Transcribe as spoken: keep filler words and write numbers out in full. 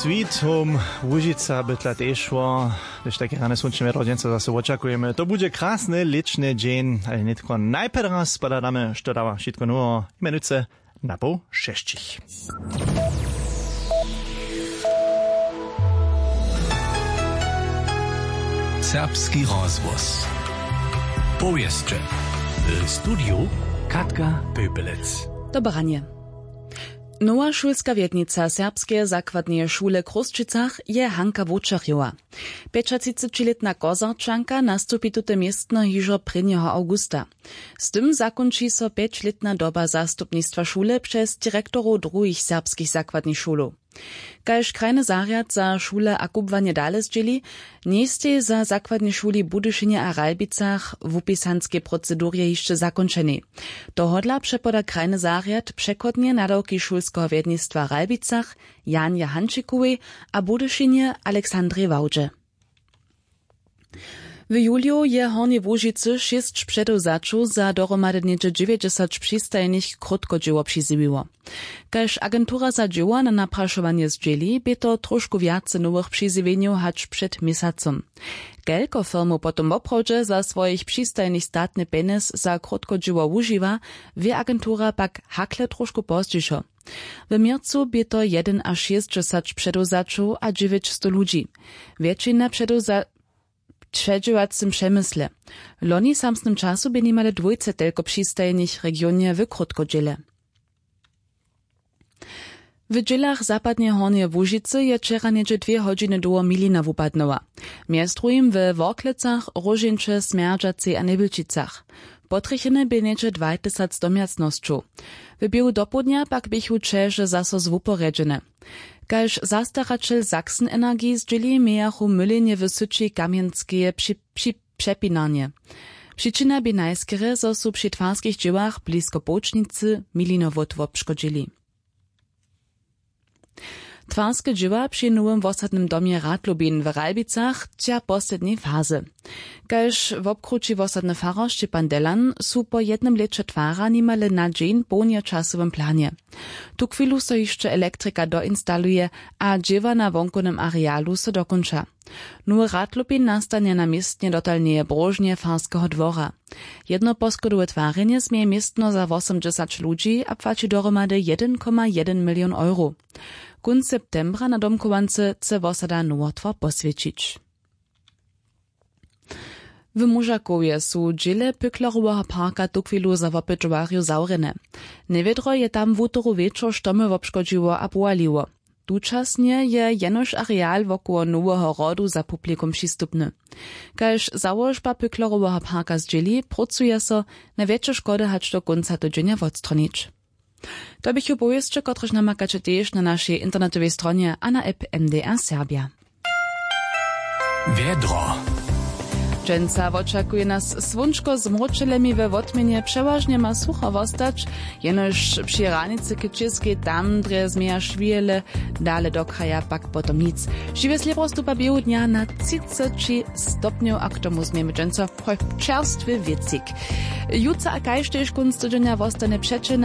Sweet Home Łužica by tla tež šło. Hdyž tajke rane słónčne wjedro dźensa zaso wočakujemy, to budźe krasny lěćny dźeń, ale nětko najprjedy raz pohladamy, što dawa wšitko noweho, mjenujcy na poł šesćich. Serbski rozhłos. Powěsće. W studiju Katka Pöpelec. Dobre ranje. Nowa šulska wjednica serbskeje zakładneje šule w Chrósćicach je Hanka Wočerjowa. Pjećatřicećilětna Kozarčanka nastupi tute městno hižo prěnjeho awgusta. Z tym zakónči so pjećlětna doba zastupnistwa šule přez direktorow druhich serbskich zakładnych šulow. Kaž krajny zarjad za šule a kubłanje dale zdźěli, njejstej za zakładnej šuli w Budyšinje a Ralbicach w wupisanskej procedurje hišće zakónčenej. Tohodla přepoda krajny zarjad přechodnje nadawki šulskeho wjednistwa w Ralbicach Janje Hančikowej a Budyšinje Alexandrej Wałdźe. W juliju je w Hornjej Łužicy šěsć předewzaćow za dohromady něhdźe dźewjećdźesat přistajnych krótkodźěło přizjewiło. Kaž agentura za dźěło na naprašowanje zdźěli, bě to trošku wjace nowych přizjewjenjow hač před měsacom. Kelko firmow potom woprawdźe za swojich přistajnych statny pjenjez za krótkodźěło wužiwa, wě agentura pak hakle trošku pozdźišo. W měrcu bě to jedynašěsćdźesat předewzaćow a dźewjećstow ludźi. Wjetšina předewza-, předźěłacym přemysle. Loni w samsnym času bě nimale dwójce telko přistajnych w regionje w krótkodźěle. W dźělach zapadneje Hornjeje Łužicy je wčera něhdźe dwě hodźiny dołho milina wupadnyła. Mjez druhim we Worklecach, Róžeńće, Smjerdźacej a Njebjelčicach. Potrjecheny bě něhdźe dwajtysac domjacnosćow. W běhu dopołdnja pak běchu ćeže zaso zwuporjedźene. Kaž zastaraćel Sachsen Energie zdźěli, mějachu mylenje w syći kamjenskeje při, při, přepinarnje. Přičina bě najskerje, zo su při twarskich dźěłach blisko połčnicy milinowot wobškodźili. Twarske dźěła při nowym wosadnym domje Radlubin w Ralbicach tča poslednjej fazy. Kaž wobkrući wosadny farar Šćepan Delan, su po jednym lěće twara nimale na dźeń połnje w časowym planje. Tuchwilu so hišće elektrika doinstaluje a dźěła na wonkownym arealu so dokónča. Nowy Radlubin nastanje na městnje dotalneje bróžnje farskeho dwora. Jednoposchodowe twarjenje změje městno za wosomdźesać ludźi a płaći dohromady jedyn koma jedyn milion euro. Kónc septembra na domchowance chce wosada nowotwar poswjećić. W Móžakowje su dźěle Pückleroweho parka tuchwilu za wopytowarjow zawrjene. Njewědro je tam wutoru wječor štomy wobškodźiło a powaliło. Tučasnje je jenož areal wokoło noweho hrodu za publikum přistupny. Kaž załožba Pückleroweho parka zdźěli, prócuje so, najwjetše škody hač do kónca tydźenja wotstronić. To běchu powěsće, kotrež namakaće tež na našej internetowej stronje a na app M D R Serbja. Wjedro. Dźensa wočakuje nas słónčko z mróčelemi, we wotměnje přewažnje ma sucho wostać, jenož při hranicy k Čěskej tam drje změja šwihele, dale do kraja pak potom nic. Žiwe slěpro stupa běhu dnja na třiceći stopnjow a k tomu změjemy dźensa čerstwy wěcik. Jutře a kaž tež kónc tydźenja wostanje přećelny.